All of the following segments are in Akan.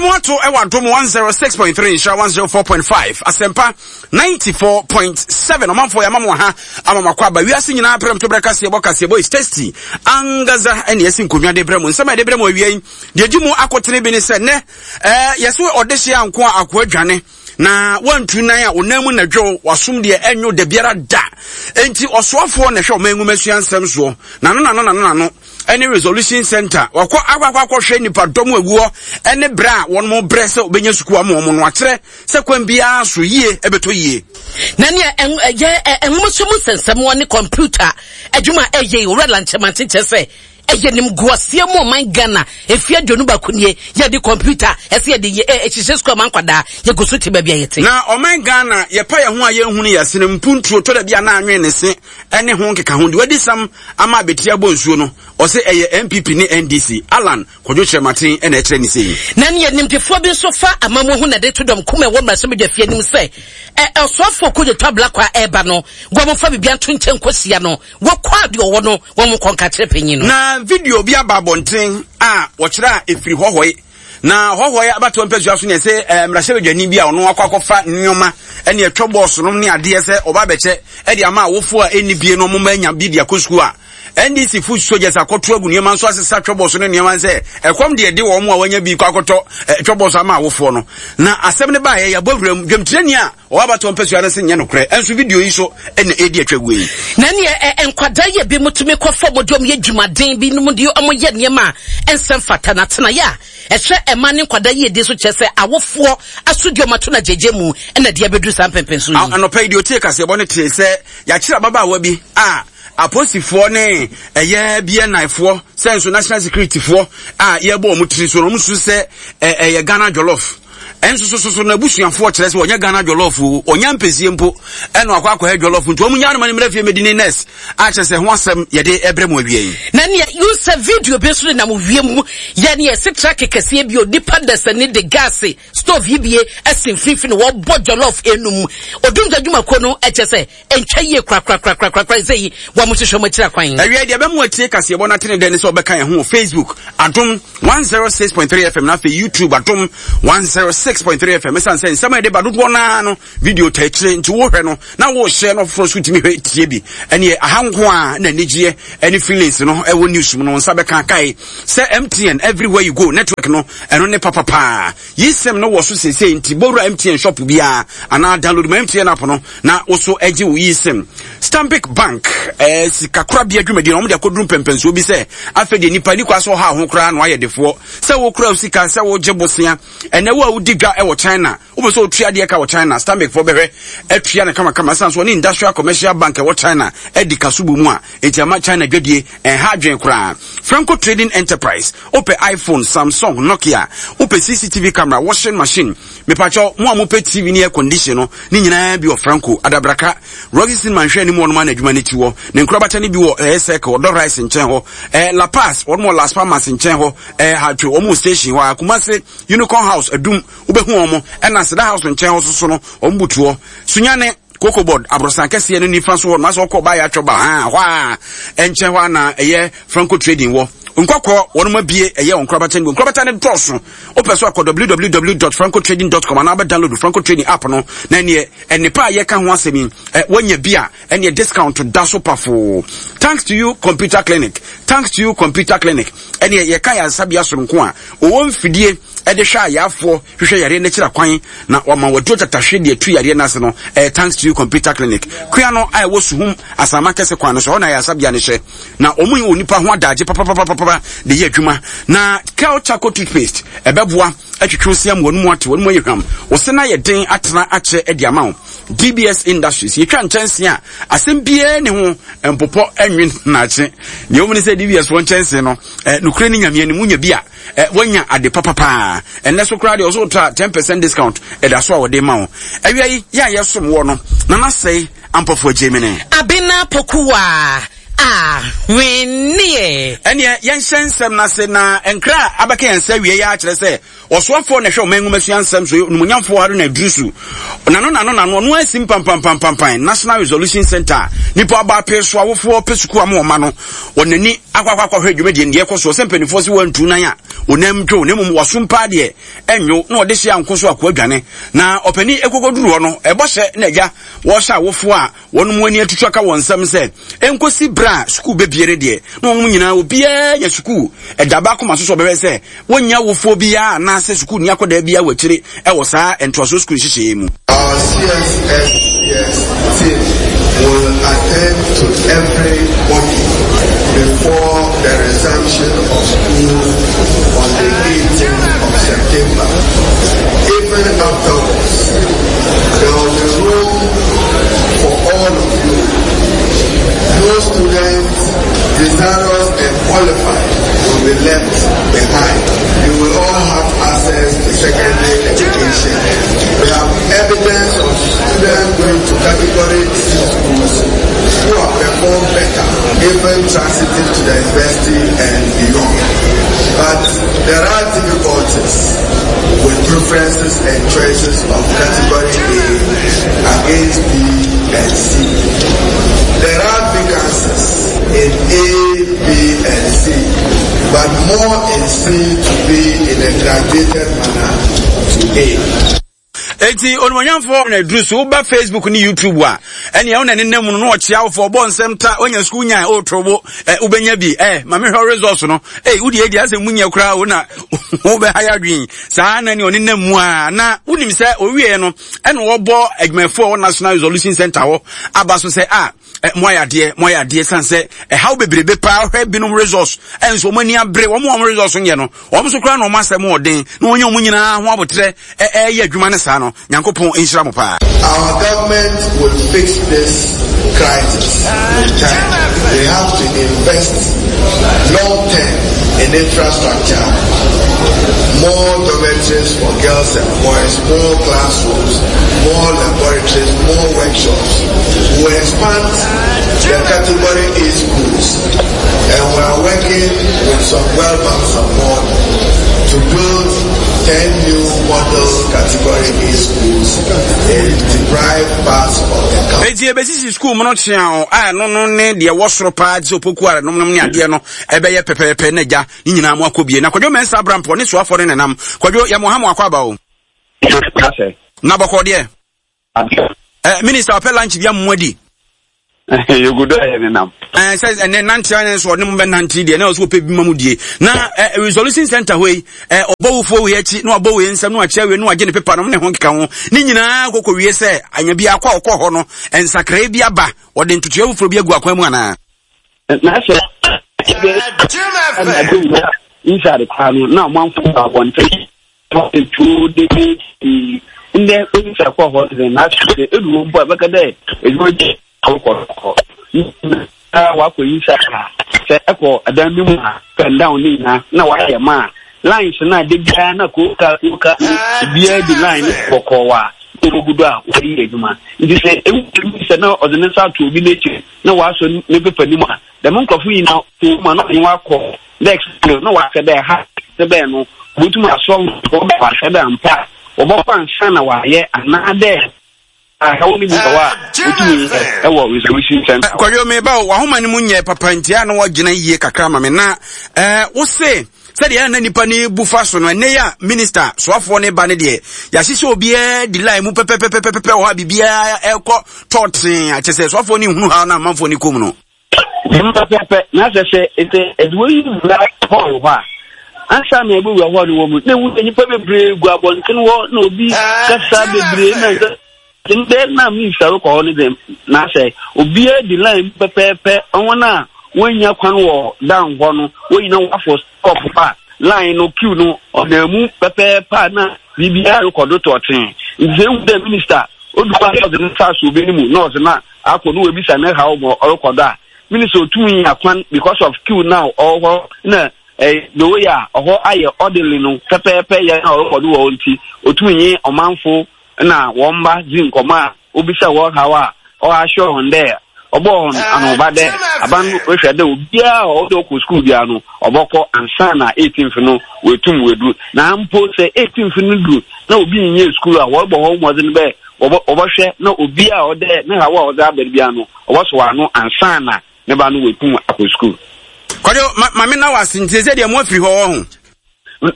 Yɛsɛ mo ato ɛwɔ Adom 106.3 Nhyira 104.5 Asɛmpa 94.7 ɔmanfoɔ yɛama mo ha ama mo akɔ aba wiase nyinaa prɛm to brɛ kaseɛ bɔ kaseɛ bɔ is tasty angaza ɛne yɛsi nkonnwa de brɛ mo nsɛm a yɛde brɛ mo awia yi deɛ di mu akotene bi ne sɛ nnɛ ɛɛ yɛsɛ ɔdehyeɛ anko a akoa dwane na wantu nan a ɔnan mu na dwo wasom deɛ ɛnwo da biara da enti ɔsoafoɔ na ɛhwɛ ɔman nwoma sua nsɛm soɔ nano nano nano nano ɛne resolution center wakɔ akɔ akɔhwɛ nipa dɔm aguɔ ɛne brɛ a wɔn mo brɛ sɛ ɔbɛnya sukuu ama wɔn no akyerɛ sɛ kwan biara so yie ɛbɛtɔ yie. Na nea ɛyɛ nwomasua mu nsɛnsɛm ne kɔmputa adwuma a ɛyɛ yi owura Lankyɛmante kyerɛ sɛ ɛyɛ nimguaseɛ mu ɔman Ghana mfeɛ 21 nie yɛde kɔmputa ɛsɛ yɛde yɛ ɛhyehyɛ sukuu ama nkwadaa yɛgu so te baabi a yɛte. Na ɔman Ghana yɛpa yɛn ho a yɛnhunu yɛn asene mpuntuo tɔ da bi a na anwene ne se ɛne ho nkeka ho deɛ wadi sam ama abɛtiri abɔ nsuo no ɔse ɛyɛ NPP ne NDC Allan Kwadwo Kyerematen na ɛkyerɛ ne sei. Na nea nimdefoɔ bi nso fa amammuo ho na ɛde to dɔm kum a ɛwɔ mmarahyɛbadwafie anim sɛ ɛ ɔsoafoɔ Kojo Twablakwa a ɛreba no wɔmfa biribiara nto nkyɛn nkɔhyia no wɔkɔ a deɛ ɔwɔ no wɔn nkɔ nka kyerɛ panyin no. Na video bi aba abɔnten a wɔkyerɛ a ɛfiri Hɔhɔe na Hɔhɔe abatoɔ mpasua so ne ɛsɛ eh, mmarahyɛbadwani bi a ɔno akɔ akɔfa nneɛma ɛne ɛtwɔ bɔɔso nom ne adeɛ sɛ ɔba abɛkyɛ ɛde ama awofoɔ a ɛnni bie no ɔmo mma anya bi de akɔ sukuu a NDC foot soldiers akɔto agu nneɛma nso asesa twɔbɔso ne nneɛma sɛ ɛkɔm deɛ de wɔn a wɔanya bi kɔ akɔtɔ twɔbɔso ama awofoɔ no na asɛm no baeɛ yɛabɔ wuram dwamtirani a ɔwɔ abatoɔ mpasua no se nyɛ nokorɛ ɛnso video yi so ɛna ɛredi atwa guo yi. Na neɛ nkwadaa yɛ bi mu tumi kɔ fam de wɔn yɛ dwumaden bi nom de wɔn yɛ nneɛma a ɛnsɛ mfata na atenaeɛ a ɛhwɛ ɛma ne nkwadaa yiedie so kyerɛ sɛ awofoɔ asodie wɔn ato no agyegye mu ɛna deɛ abɛduru saa mpɛmpɛnso yi. Anɔpa yi deɛ ɔtie kaseɛbɔ no tee sɛ yɛakyere ababaawa bi a Apolisifoɔ ne ɛyɛ BNI foɔ sɛ nso national security foɔ a yɛbɔ wɔn tiri so no wɔn nso sɛ ɛyɛ Ghana jollof ɛnso so so so n'abusuafoɔ kyerɛ sɛ wɔnyɛ Ghana jollof o wɔnyɛ mpɛsie mpo ɛna akɔ akɔyɛ jollof nti wɔn nyɛ anoma ne mmerɛ fie mɛdi ne nurse a kyerɛ sɛ ho asɛm yɛde ɛbrɛ mu awie yi. Na nea yun sɛ video bi nso nenam wiem yɛ nea ɛsi truck kɛseɛ bi onipa dasani de gaase stove yi bie asi mfimfini wɔbɔ jollof enum odumgya dwumakuo no ɛkyɛ sɛ Ɛntwa yie korakorakorakorakora sɛ yi wɔn mo hwehwɛ mo akyiri akwan. Awia deɛ ɛbɛmo atie kaseɛbɔ no atene dɛ ne sɛ ɔbɛka yɛn ho wɔ Facebook Adom 106.3 FM na afei YouTube Adom 106.3 FM ɛsiane sɛ nsɛm a yɛde ba dodoɔ no ara no video ta akyire nti wohwɛ no na wohyɛ no foforɔ so tumi hwɛ tie bi ɛneɛ aha nko a na anigyeɛ ɛne feelings no ɛwɔ news mu no nsa bɛka kae sɛ MTN everywhere you go network no ɛno ne papapaa Yi sim no wɔ so seesei nti bɔ wura MTN shop biara anaa download ma MTN app no na wo so gye wo yi sim. Stanbic Bank eh, sikakorabea dwumadi no wɔn de akɔduru mpɛmpɛnsoɔ bi sɛ afei deɛ nipa ni kwa sɛ ɔha ho koraa na wayɛ defoɔ sɛ wokura wo sika sɛ wogye bosea ɛnɛ wo a wodi dwa wɔ China wopɛ sɛ wotua adeɛ ka wɔ China Stanbic foɔ bɛhwɛ atua no kamakama ɛsan so ɔne Industrial Commercial Bank ɛwɔ China adi kaso bɔ mu a enti ama China dwadie ɛnha adwene koraa. Franco Trading Enterprise Wopɛ iPhone, Samsung, Nokia, wopɛ CCTV camera, washing machine, mepakyɛw, mo a mopɛ TV ne air condition no, ne nyinaa bi wɔ Franco, Adabraka, Roxy Cinema nhwɛ anim wɔnom ana adwuma no ti wɔ, ne nkorabata no bi wɔ ɛyɛ Circle, Ɔdɔ Rice nkyɛn hɔ, ɛɛ La Paz, wɔnom wɔ Las Palmas nkyɛn hɔ, ɛɛ Hatwe, wɔn wɔ station hɔ a, Kumasi, Unicorn House, Adum, wobɛhu wɔn, ɛna Seda House nkyɛn hɔ soso no, wɔn butu hɔ. Sunyane, Cocoa Board aborosan kɛseɛ no nifa so hɔ no asɛ ɔkɔ ɔbaa yɛ atwɔ ba ha hɔ a ɛnkyɛn hɔ a na ɛyɛ Franco Trading wɔ nkɔkɔ wɔn abie ɛyɛ wɔn nkorabata no nkorabata no dɔɔso wopɛ so akɔ www.francotrading.com anaa bɛ download Franco Trading app no na ɛneɛ ɛnepa a yɛka ho asɛm yi wɔnya bi a ɛneɛ discount da so pafoo. Thanks to you computer clinic, thanks to you computer clinic, ɛneɛ yɛka yɛ asabea soronko a ɔwɔ mfidie ɛde hwɛ ayaafoɔ hwehwɛ yareɛ no akyiri akwan na wama waduro tatahwe de atu yareɛ no ase no ɛyɛ thanks to you computer clinic kua no a ɛwɔ suhum asama kɛse kwan no so hɔ na ayaresabea no hyɛ na wɔn yi wɔ nipa ho adagye papapapapa de yɛ adwuma na kel charcoal toothpaste ɛbɛboa atwitwi osia mu wɔn mu ate wɔn mu ayɛ hwam wɔsɛ na yɛ den atena akyɛ de ama wo DBS Industries yɛtwa nkyɛnse a asɛm biara ne ho mpopɔ nwen naakye deɛ wɔn ne sɛ DBS wɔn nkyɛnse no eh, nokorɛ ne nyame anim wonya bi a eh, woanya ade papa paa ɛnɛ so koraa deɛ ɔso wotɔ a 10 percent discount ɛda so a wɔde ma wo awia yi yɛ a yɛsom wɔ no na nasɛe ampɔfo agyemene Abena Pokuwa. Ahweneɛ. Ɛneɛ yɛnhyɛ nsɛm no ase na nkra a abɛka yɛn nsa awiei ara kyerɛ sɛ ɔsoafoɔ na ɛhwɛ ɔman nwomasua nsɛm so onimonyamfoɔ Haruna Iddrisu nano nano nano ɔno asi mpampampampampan National Resolution Center a nipa aba apee so awofoɔ pɛ sukuu ama ɔma no wɔn ani akɔ akɔ akɔhwɛ dwumadie no deɛ ɛkɔ soɔ sɛ mpanimfoɔ sɛ wɔantu nan a ɔnam dwo na mmom wɔsom paa deɛ ɛnwo na ɔde hyɛ anko so akoa dwane na ɔpanin ɛkɔkɔduru hɔ no ɛbɔ hyɛ na agya wɔhyɛ awofoɔ a Wɔn mu ani atutu aka wɔn nsam sɛ enkosi bere a sukuu bebue no deɛ, na wɔn nyinaa obiara anya sukuu ɛda baako ma so sɛ ɔbɛhwɛ sɛ wonnya awofoɔ biara anaasɛ sukuuni akwadaa biara wɔ akyire wɔ saa ntoasoɔ sukuu nhyehyɛeɛ mu. Our CSSCS team will attend to everybody before the resumption of school on the 18th of September. Even afterwards, there will be room for all of you. No student desirous and qualified will be left behind. You will all have access to secondary education. We have evidence of students going to category C schools who have performed better, even transiting to the university and beyond. But there are difficulties with preferences and choices of category A against B and C. There are vacancies in A, B, and C, but more in C to B in a graduated manner to A. Enti onimonyamfoɔ na aduru so woba Facebook ne YouTube a ɛnea wo na ne nam no na ɔkyea wofoɔ ɔbɔ nsɛm ta wonya sukuu nyan ɔretorobo ɛ wobɛnya bi ɛ ma mehwɛ results no ei wode adi asɛ mu nyɛ koraa wo na wobɛha yɛ adwene saa na ne ɔne nam mu a na wonim sɛ ɔwieɛ no ɛna wɔbɔ adwumayɛfoɔ wɔ National Resolution Center hɔ aba so sɛ a mo ayɛ adeɛ mo ayɛ adeɛ san sɛ ɛhaw bebrebe paa hwɛ binom results ɛnso wɔn ani abere wɔn wɔn results nyɛ no wɔn nso koraa na wɔn asɛm ɔden na wɔnyɛ wɔn nyinaa ho abotrɛ ɛyɛ adwuma no saa no nyankopɔn nhyira mo paa. Our government will fix this crisis with time. They have to invest long term in infrastructure, more dormitories for girls and boys, more classrooms, more laboratories, more workshops. We will expand the category A schools and we are working with some World Bank support to build 10 new model category A schools in deprived parts of the country. Eti ebesisi school mu no kyea o a ɛno no ne deɛ ɛwɔ soro paa te sɛ opoku a nom nom ne adeɛ no ɛbɛyɛ pɛpɛɛpɛ na agya ne nyinaa mo akɔ bie na Kwadwo Mensah Abrampɔ ne soafoɔ no nenam Kwadwo yɛ mo ha mo akɔ aba o. Na bɔkɔ deɛ. Eh, minister ɔpɛ lunch bi amu adi. Yɛgu do a yɛ nenam. Eh, sɛ ɛnɛ nante ayɛ nso ɔne mo bɛ nante deɛ na ɔsɛ ɔpɛ bi ma mu die na eh, resolution center hɔ yi eh, ɔbɔ wofoɔ wei akyi na wabɔ wei nsɛm na wakyerɛ wei na wagye ne pepa nom ne ho nkeka ho ne nyinaa kɔkɔ wie sɛ anya bi akɔ a ɔkɔ hɔ no nsakrae bi aba ɔde ntotoeɛ foforɔ bi agu akwan mu anaa. Na sɛ inside koraa no na ɔmanfo wɔ abɔnten Etuo dede pii. Ndɛ obi akɔ hɔ dze na sɛ edu hɔ mpo a ebɛka dɛ edwuma bi a wokɔ hɔ. Na wakɔ yi sa sɛ ɛkɔ dan bi mu a up and down ne nyinaa na wayɛ ma a lines no a da biara na kooka kooka obiara di line no bɔkɔɔ a na ogu do a wɔde yɛ adwuma. Nti sɛ ehu bi sɛ na ɔdze ne nsa ato obi n'ekyir na wasɔ ne pepa no mu a dɛm nkorɔfo nyinaa kɔn mu a na ɔnye wakɔ dɛ explain na ɔahwɛ dɛ ha ne bɛn no obotum asɔ hɔn ɔahwɛ dɛ ampa a wɔbɔkɔ ansaana wɔayɛ anaadɛ ahaw no bi wɔ hɔ a wotumi yɛ wɔ resolution center hɔ. Kwadwo meba o, w'ahoma no mu nyɛ papa nti a na wɔgyina yie kakra ma me na eh, wo se sɛdeɛ na nipa no bu fa so no ɛnɛ yi a minista soafoɔ no ba no deɛ yɛahyehyɛ obiara di line mu pɛpɛpɛpɛpɛ wɔ hɔ a biribiara ɛkɔ tɔɔtee akyɛ sɛ soafoɔ no nhunu ha na amanfoɔ no kɔm no. Dɛm pɛpɛɛpɛ, na sɛ sɛ sɛ edze w'enyi wura hɔl hɔ a, ansaana ebowura hɔl no wɔ mu, na ehu dɛ nyimpa beberee gu abɔntsen hɔ na obi kasa beberee na ndɛ ndɛ na minista rokɔ hɔ no dze, na sɛ obiara di line mu pɛpɛɛpɛ, hɔn a woennya kwan wɔ down hɔ no, hɔn nyina wɔafor stop hɔ a, line no, queue no, ɔnam mu pɛpɛɛpɛ a na biribiara rokɔ do tɔɔtsee. Ntsi sɛ ehu dɛ minista odu hɔ a na ɔdze ne nsa asɔ obi no mu na ɔdze no akɔ na oebisa ne haw ma ɔrokɔ do a, minister otum nya kwan because of queue no a ɔwɔ hɔ na eh, the way a ɔhɔ ayɛ orderly no pɛpɛɛpɛ yɛ na ɔrokɔ do wɔ hɔ ntsi, otum nye ɔmanfo na hɔn mba dzi nkɔmbɔ a obisa hɔn haw a ɔassure hɔn dɛ. Ɔbɔɔ hɔn anohoba dɛ aban no rohwɛ dɛ obiara a ɔwɔ dɛ ɔkɔ skuul biara no ɔbɔkɔ ansaana 18th no oetum oedu. Na mpo sɛ 18th no du na obi nnyɛɛ skuul a, wɔrobɔ hɔnho mbɔdzen dɛ wɔbɔhwɛ na obiara a ɔwɔ dɛ ne haw a ɔdze aba no biara no ɔbɔsɔw ano ansaana ne ba no oetum akɔ skuul. Kwadwo, ma ma menna wo ase nti sɛ deɛ mo afiri hɔ wɔ ho.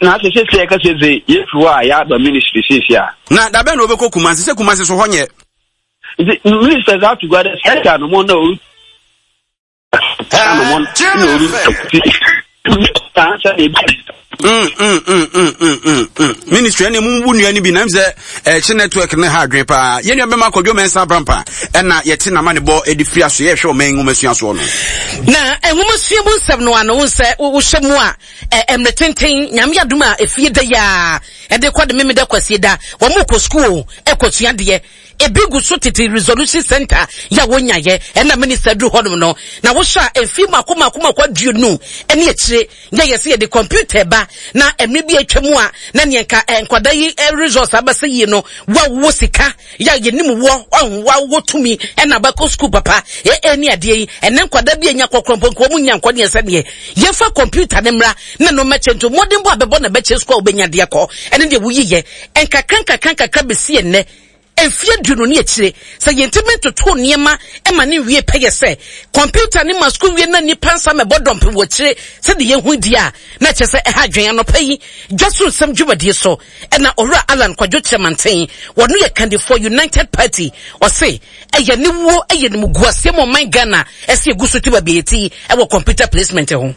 Na sɛ sɛsi a yɛkasa dze yɛfiri hɔ a yɛaba ministry sɛsi a. Na dabɛn na wobɛkɔ Kumasi? Sɛ Kumasi so hɔ nyɛ. Nti minister dze ato gua dɛ sɛ ɛda anamɔn na oru anamɔn na oru ti ansa na ebi. Ministry ɛna mu bu nua no bi nam sɛ ɛkye network ne ha adwene paa yɛn nua bɛma akɔdwo mɛnsa abrampa ɛna yɛte nama ne bɔ ɛde firi aso yɛhwɛ ɔman nwoma sua soɔ no. Na nwoma sua mu nsɛm no ano sɛ wohyɛ mu a mmerɛ tenten nyame adom a efie da yi a ɛde kɔ de memeda kwasie da wɔn kɔ sukuu ɛkɔ sua deɛ Ebi gu so tete Resolution Centre yi a wonyaeɛ ɛna minister duru hɔnom no. Na wohwɛ a mfie mako mako mako aduonu ne akyire yɛ yɛsɛ yɛde computer ba na mmere bi atwa mu a na neɛ nka eh, nkwadaa yi eh, results aba sɛ yie no wo a wowɔ sika yɛ a yɛnim wɔ ɔho wo a wowɔ tumi ɛna abakɔ sukuu papa ee ne adeɛ yi ɛnɛ nkwadaa bi anya kɔkorɔ mpo nka wɔn nya nkɔ neɛ sɛdeɛ yɛmfa computer ne mmra na no mmɛkyɛ nti mmɔdenbɔ a bɛbɔ na bɛkyɛ sukuu a wobɛnya deɛ kɔ ɛne deɛ woyiyɛ nkakra nkakra nkakra bɛsi ɛnnɛ mfeɛ aduonu ne akyire, sɛ yɛntumi ntoto nneɛma ma ne nwie pɛyɛ sɛ kɔmputa ne ma sukuu wie na nnipa nsa mɛbɔ dɔmpem wɔ akyire sɛdeɛ yɛhu di a, na kyerɛ sɛ ɛha adwene. Anɔpa yi, dwa so nsɛm dwumadie so ɛna Owura Allan Kwadwo Kyerɛmanten, wɔno yɛ kandifoɔ United Party, ɔse ɛyɛ aniwuo, ɛyɛ animguaseɛ ma ɔman Ghana ɛsɛ yɛgu so te baabi a yɛte yi ɛwɔ kɔmputa placement ho.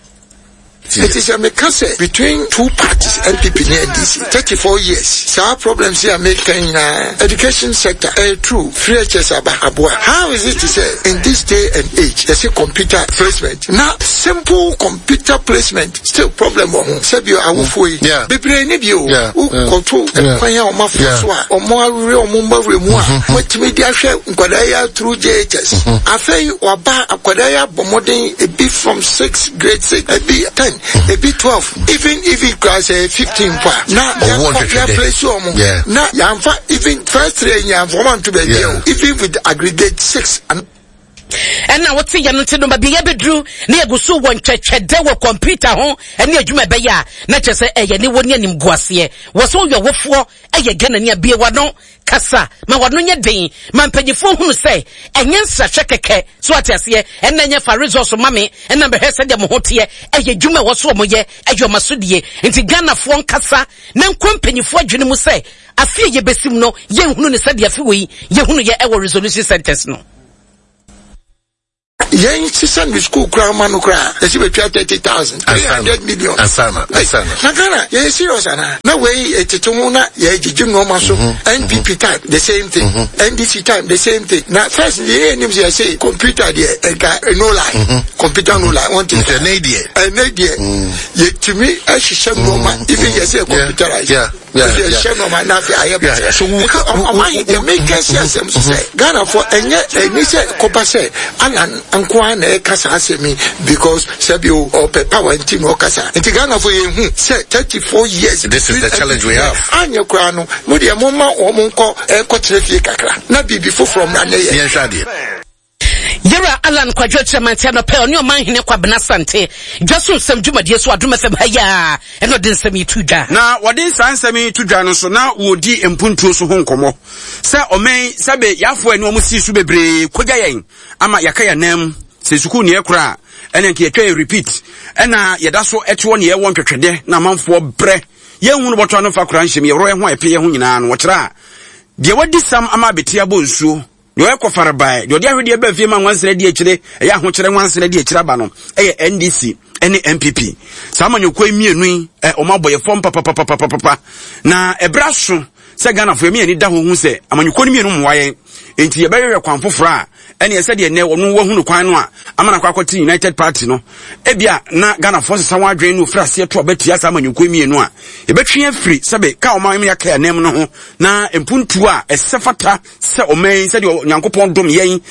Enti sɛ meka sɛ between two parties NPP ne NDC 34 years saa problems yi a meka yi nyinaa education sector ɛyɛ true free HS aba aboa how is it sɛ in this day and age yɛse computer placement na simple computer placement still problem wɔ ho sɛbi awofoɔ yi bebree ne bi o wokɔto kwan a wɔn afa so a wɔn awerɛ wɔn mma werɛ mu a wɔatumi de ahwɛ nkwadaa yi through JHS afei waba akwadaa yi abɔ mmɔden ebi from 6 grade 6 ebi 10 ebi 12 even even kura sɛ 15 mpo a na yɛkɔ yɛplɛsi wɔn na yɛnfa even first three yɛnfa wɔn anto baabi o even with aggregate 6 and Ɛna wote yɛn nti no baabi yɛbɛduru na yɛgu so wɔ ntwɛtwɛdɛ wɔ kɔmputa ho ne adwuma ɛbɛyɛ a na kyerɛ sɛ ɛyɛ ne wɔ ne animguaseɛ wɔ sɛ woyɛ ɔwofoɔ ɛyɛ Ghanani a bue w'ano kasa ma w'ano nyɛ den ma mpanyinfoɔ hunu sɛ ɛnyɛ nsrahwɛ kɛkɛ so ate aseɛ ɛna ɛnyɛ fa resource ma me ɛna bɛhwɛ sɛdeɛ mo ho teɛ ɛyɛ adwuma ɛwɔ so wɔn yɛ ɛyɛ ɔma so die nti Ghanafoɔ nkasa na nkɔ mpanyinfoɔ adwene mu sɛ afe a yɛbɛsim no yɛnhunu ne sɛdeɛ afe wei yɛhunu yɛ ɛwɔ resolution centers no. Yɛn sisa no school koraa ma no koraa yɛsi bɛtwa 30,000 300 million ansana ansana na Ghana yɛyɛ serious anaa na wei etete ho na yɛgyegye nneɛma so NPP time the same thing NDC time the same thing na first deɛ yɛn nim sɛ yɛsɛ computer deɛ nka no lie computer no lie wɔn ti ɛnɛ deɛ ɛnɛ deɛ yɛtumi ɛhyehyɛ nneɛma even yɛsɛ computerize. Efi ɛhyɛ nɔɔma na afei ayɛ basa. So wo ka ɔmo ayi deɛ meka si asɛm so sɛ Ghanafoɔ ɛnyɛ ɛni sɛ kɔba sɛ Alan nko ara na ɛka saa asɛm yi because sɛbi o ɔpɛ power nti na ɔkasa nti Ghanafoɔ yɛn hu sɛ 34 years. This is the challenge we have. Anyɛ koraa no mo deɛ mo ma wɔn nkɔ ɛnkɔ tena fie kakra na biribi foforɔ mmra ne yɛ. Yɛn hwɛ adeɛ. Yɛwura Allan Kwadwo Kyeremantse anɔpa yi ɔne Ɔmanhene Kwabena Asante dwa so nsɛm dwumadie so Adom FM ha yi a ɛna ɔde nsɛm yi to dwa. Na wɔde saa nsɛm yi to dwa no so na wɔredi mpuntuo so ho nkɔmmɔ sɛ ɔman yi sɛbe yɛafoɔ ani wɔn sii so bebree kogya yɛn ama yɛaka yɛn nan mu sɛ sukuu neɛ kora a ɛna nka yɛtwa yɛ repeat ɛna yɛda so ɛtoɔ neɛ ɛwɔ ntwɛtwɛdɛ na amanfoɔ brɛ yɛnhunu bɔtɔ ano mfa kora nhyɛm yɛworɔ yɛn ho a yɛpɛ yɛn ho nyinaa no wɔkyerɛ a deɛ wadi sam ama abɛti abɔ nsuo Deɛ ɔyɛ kɔfarebae, deɛ ɔde ahwedeɛ ba fie ma nwansena di akyire, ɛyɛ ahokyerɛ nwansena di akyire aba no, ɛyɛ NDC ne NPP. Saa amanyɔkuo yi mmienu yi, ɛ, wɔn abɔ yɛ fam papapapapapa. Na ɛberɛ aso sɛ Ghanafoɔ yɛn ani da hɔ hu sɛ amanyɔkuo no mmienu mmoa yɛn. Enti yɛbɛhwehwɛ kwan foforɔ a ɛneɛ sɛdeɛ nnɛ wɔn wahunu kwan no a ama no akɔ akɔte United Party no. Ebia na Ghanafoɔ sesa wɔn adwene na wɔfiri aseɛ to aba tia saa amanyɔkuo mmienu a yɛbɛtwe afiri sɛbe ka ɔman yɛaka yɛn anan mu no ho na mpuntuo a ɛsɛ fata sɛ ɔman yi sɛdeɛ Onyankopɔn dom yɛn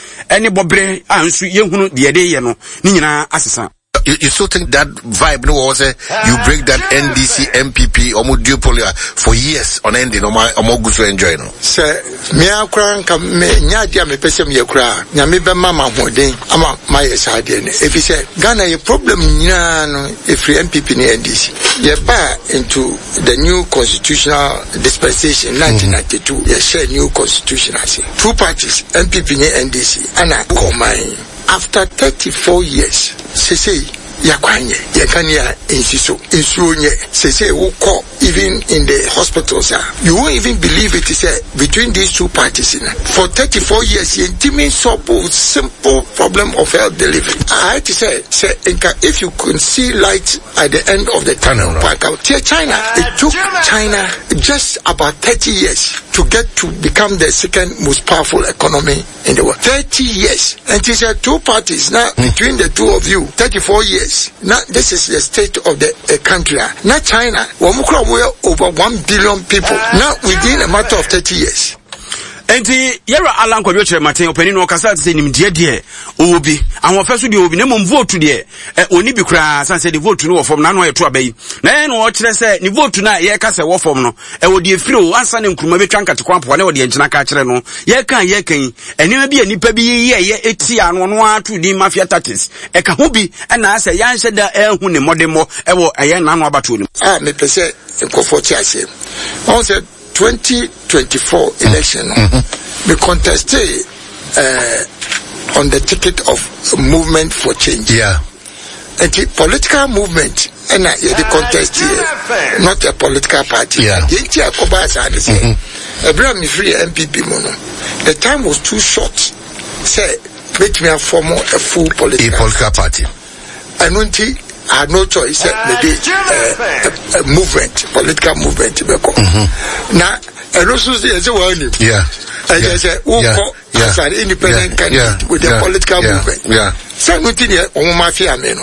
ne bɔberɛ a nso yɛhunu deɛ yɛde yɛ no ne nyinaa asesa. You still think that vibe no was you break that NDC NPP ɔmo duopoly for years on ending ɔmo ɔmo gu so enjoy no. Sɛ mmea koraa nka me nyɛ adeɛ a mepɛ sɛ meyɛ koraa, Nyame bɛma ma ahoɔden ama mayɛ saa adeɛ no, ɛfiri sɛ Ghana yɛ problem nyinaa no ɛfiri NPP ne NDC. Yɛbaa into the new constitutional dispensation 1992, yɛhyɛ new constitution ase, two parties, NPP ne NDC, ana ɔman after 34 years sesei yɛakwan nyɛ, yɛn kanea nsi so, nsuo nyɛ. Sesei wokɔ even in the hospitals a, you won't even believe it sɛ between these two parties no, for 34 years yɛntumi nsɔbo simple problem of health delivery. Ayɛ te sɛ sɛ nka if you can see light at the end of the tunnel no, anka tie China. It took China just about 30 years to get to become the second most powerful economy in the world. 30 years. And it's a two parties now between the two of you, 34 years. Now this is the state of the country. Now China, over 1 billion people. Now within a matter of 30 years. Enti yɛwura Alan Kwadwo Kyerematen ɔpanin no ɔkasa te sɛ nimdeɛ deɛ ɔwɔ bi, ahoɔfɛ so deɛ ɔwɔ bi, na mmom vote deɛ ɔni bi koraa, san sɛ ne vote no wɔ fam na ano ayɛ to aba yi. Na ɛyɛ na ɔkyerɛ sɛ ne vote no a yɛreka sɛ wɔ fam no, ɛwɔ deɛ firi o, ansa ne Nkrumah bɛtwa nkate kwan apoa na ɛwɔ deɛ nkyena ka kyerɛ no. Yɛreka a yɛreka yi, nneɛma bi a nnipa bi yɛyɛ ɛtia no, ɔno ara to din mafia tactics. Ɛka ho bi ɛna asɛ yɛanhyɛ da anhu ne mmɔdemmɔ ɛwɔ ɛyɛ n'ano abatoɔ no mu. A mepɛ sɛ nkurɔfoɔ te aseɛ. Ɔhu sɛ 2024 election no, me contestee on the ticket of Movement for Change. Nti political movement ɛna yɛde contest yɛ, not a political party. Deɛ nti a ɛkɔbaa saa ne sɛ, ɛberɛ a mefiri NPP mu no, the time was too short sɛ mɛtumi afɔm a full political, a political party. Ɛno nti I had no choice sɛ mede movement, political movement bɛkɔ. Na ɛno nso yɛ sɛ wɔanim. Ɛkyɛ sɛ wokɔ as an independent candidate with a political movement. Sɛ ɛno nti deɛ wɔn mafia me no.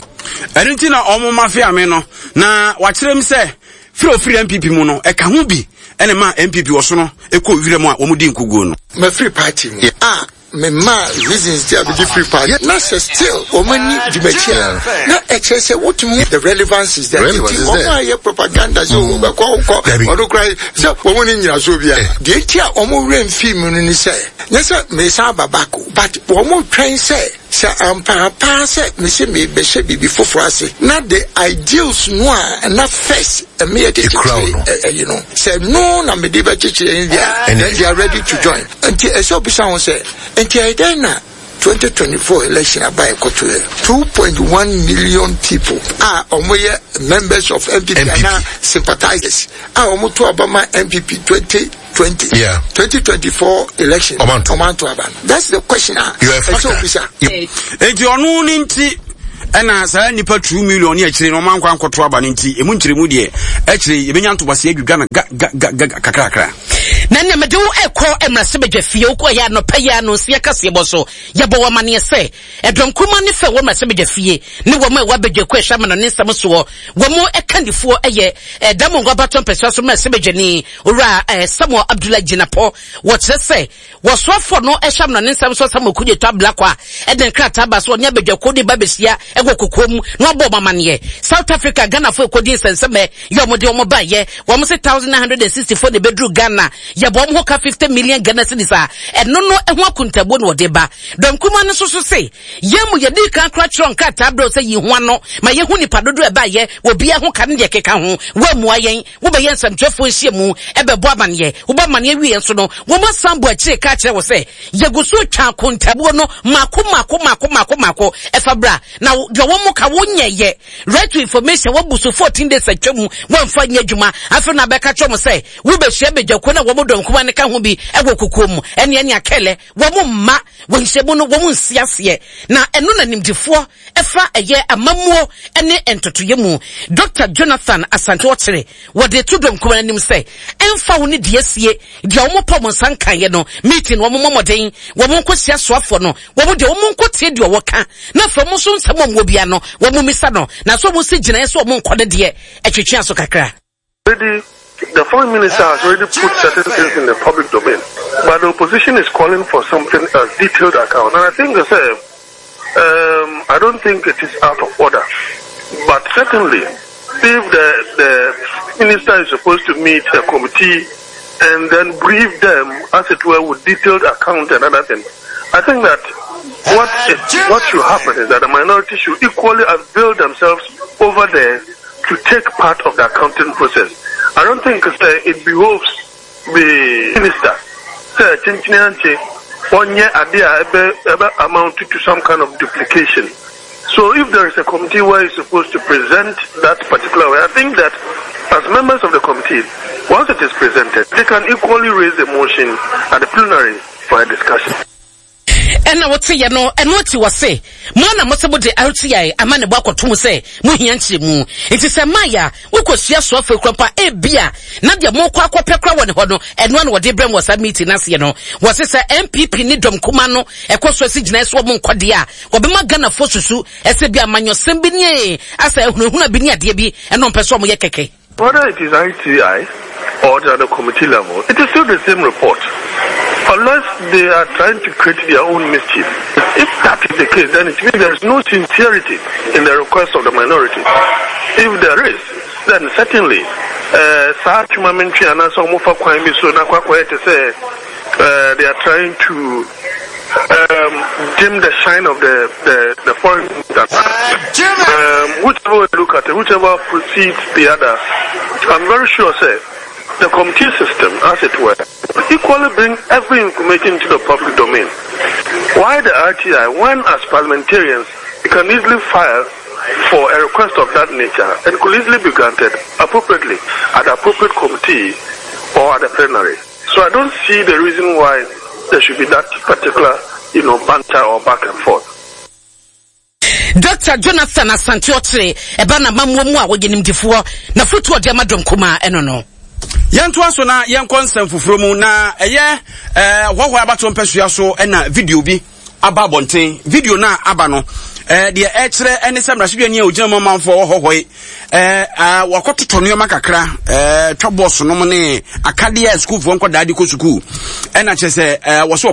Ɛno nti na wɔn mafia me no, na wakyerɛ m sɛ firi ofiri NPP mu no, ɛka ho bi ɛna ma NPP ɔsono ɛkɔ wira mu a wɔn di nkuguo no. Mafiri party mu a me maa reasons ti a mede firi party na sɛ still wɔn ani di m'akyi a, na ɛkyerɛ sɛ wotumi the relevance is there. Nti wɔn a yɛ propaganda sɛ wɔn bɛkɔ nkɔ ɔno kora sɛ wɔn ne nyinasoɔ bi a, deɛ nti a wɔn werɛ mfii mu no ne sɛ nyɛ sɛ mesan aba back, but wɔn twɛn sɛ sɛ ampaapaa sɛ mese mebɛhyɛ biribi foforɔ ase na the ideals no a na first ɛmeyɛ de kyekyere ɛyi no, sɛ no na mede bɛkyekyere no deɛ, then they are ready to join. Nti ɛsɛ obisa ho sɛ, nti ɛyɛ dɛn na 2024 election aba ɛkɔto yɛ 2.1 million people a wɔn yɛ members of NPP anaa sympathizers a wɔn to aba ma NPP 2020, 2024 election ɔmanto aba no? That's the question a ɛsɛ obisa. Nti ɔno ne nti ɛna saa nipa 2 million ne akyire no ɔma nkɔ ankɔto aba no, nti emu nkyerɛmu deɛ akyire yɛbɛnya ntobaseɛ adwidwa no ga ga ga ga kakrakra. Na nea mede wo rekɔ mmarahyɛbadwa fie, wokɔ yɛ anɔpa yi ara no nsia kaseɛbɔ so. Yɛbɔ wo amanneɛ sɛ, ɛdɔm kumaa ne fɛ wɔ mmarahyɛbadwa fie ne wɔn a ɛwɔ abadwakuo a ɛhwɛ amanɔne nsɛm soɔ. Wɔn kandifoɔ yɛ Damongo abatoɔ mpɛsoa so mmarahyɛbadwani, Owura Samuel Abdullahi Jinapor. Wɔkyerɛ sɛ, Wɔsoafoɔ no hyɛ amanɔne nsɛm so Samuel Kudjeto Ablakwa de nkrataa ba so ɔne abadwakuo no ba bɛhyia wɔ kokoa mu na wabɔ wɔn amaneɛ. South Africa Ghanafoɔ ɛkɔdi nsɛnsɛmɛ yɛ wɔn de wɔn baeɛ. Wɔn se 1964 na ɛbɛduru Ghana. Yɛbɔ wɔn ho ka 50 million Ghana cedis a ɛno no ho akontabuo na wɔde ba. Dɔm kumaa no nso so se yɛn mu yɛdii kan koraa twerɛ nkrataa brɛ wo sɛ yi ho ano ma yɛhu nipa dodoɔ ɛbaeɛ, obiara ho ka ne deɛ ɛkeka ho. Woammua yɛn. Wobɛyɛ nsɛmtwerɛfoɔ nhyiamu bɛbɔ amaneɛ. Wobɔ amaneɛ wieɛ nso no, wɔasan bɔ akyire ka akyerɛ wo sɛ, yɛgu so retwa akontabuo no mmaako mmaako mmaako mmaako mmaako. Ɛfa bra na deɛ wɔn ka wonyɛeɛ. Right to information wɔabu so 14 days atwa mu, wɔamfa nyɛ adwuma. Afei na abɛka kyerɛ wɔn sɛ wobɛhyia badwakuo no a wɔn dɔm kumaa no ka ho bi wɔ kokoam mu. Ɛne ɛne akɛlɛ wɔn mma wɔ nhyiamu no wɔn nsi aseɛ. Na ɛno na nimdefoɔ ɛfa ɛyɛ amammuo ne ntotoeɛ mu, Dɔkta Jonathan Asante Ɔkyere, wɔde to dɔm kumaa no anim sɛ ɛmfa ho ne deɛ asie, deɛ wɔn pɔ wɔn nsa nkaeɛ no, meeting no wɔn mmɔ mmɔden, wɔn nkɔhyia soafoɔ no, wɔn deɛ wɔn nkɔtie deɛ ɔwɔ ka, na afei wɔn nso nsɛm a wɔn wɔ biara no, wɔn mmisa no, na sɛ wɔn si gyinaeɛ sɛ wɔn nkɔ no deɛ, ɛtwetwe aso kakra. Already, the foreign minister has already put certain things in the public domain, but the opposition is calling for something a detailed account. And I think, I say, I don't think it is out of order. But certainly, if the, the minister is supposed to meet a committee and then brief them, as it were, with detailed account and other things, I think that what, is, what should happen is that the minority should equally avail themselves over there to take part of the accounting process. I don't think uh, it behoves the minister sɛ kyenkyene ankye ɔnyɛ ade a ɛbɛ ɛbɛ amount to some kind of duplication. So if there is a committee where he's supposed to present that particular way, I think that as members of the committee, once it is presented, they can equally raise the motion at the plenary for a discussion. Ɛna wote yɛ no, ɛno akyi wɔse, Mo ara na mose mode RTI amanebɔ akɔto mu sɛ mohia nkyerɛmu. Nti sɛ ɛmaeɛ a, wokɔsua soafoɔ kura mpo a, ebia na deɛ morekɔ akɔpɛ koraa wɔ ne hɔ no, ɛno ara na wɔde rebrɛ mo wɔ saa meeting no aseɛ no. Wɔse sɛ NPP ne dɔm kumaa no ɛkɔ so asi gyinaeɛ sɛ wɔn nkɔ deɛ a, wɔbɛma Ghanafoɔ susu sɛ bi amanyɔsɛm bi ne asɛ ahunahuna bi ne adeɛ bi ɛna wɔmpɛ sɛ wɔyɛ kɛkɛ. Whether it is ITI or at the committee level, it is still the same report. Unless they are trying to create their own mischief. If that is the case, then it means there is no sincerity in the request of the minority. If there is, then certainly, uh, saa twuma mentwe anaasɛ wɔfa kwan bi so na akɔ te sɛ uh, they are trying to um, dim the shine of the, the, the foreign um, whichever way you look at it, whichever precedes the other, I'm very sure, sir, the committee system, as it were, equally bring every information to the public domain. Why the RTI, when as parliamentarians, you can easily file for a request of that nature and could easily be granted appropriately at the appropriate committee or at the plenary. So I don't see the reason why there should be that particular, you know, banter or back and forth. Dr. Jonathan Asante Ɔkyere ɛba n'amammuo mu a wɔyɛ nimdifoɔ na foto ɔde ama dɔm kumaa ɛno no. Yɛntoa so na yɛnkɔ nsɛm foforɔ mu na ɛyɛ ɛɛ hɔhoa abatoɔ mpɛsua so ɛna video bi aba abɔnten. Video no a aba no, eh, deɛ ɛkyerɛ ne sɛ mmarahyɛdwani a ɔgyina mu amanfoɔ wɔ hɔ hɔ yi, eh, ah, wakɔtotɔ nneɛma kakra, eh, twa bɔs nom ne akadeɛ a sukuufoɔ nkɔdaa de kɔ sukuu. Ɛna kyerɛ sɛ eh, wɔ so ɔkɔ.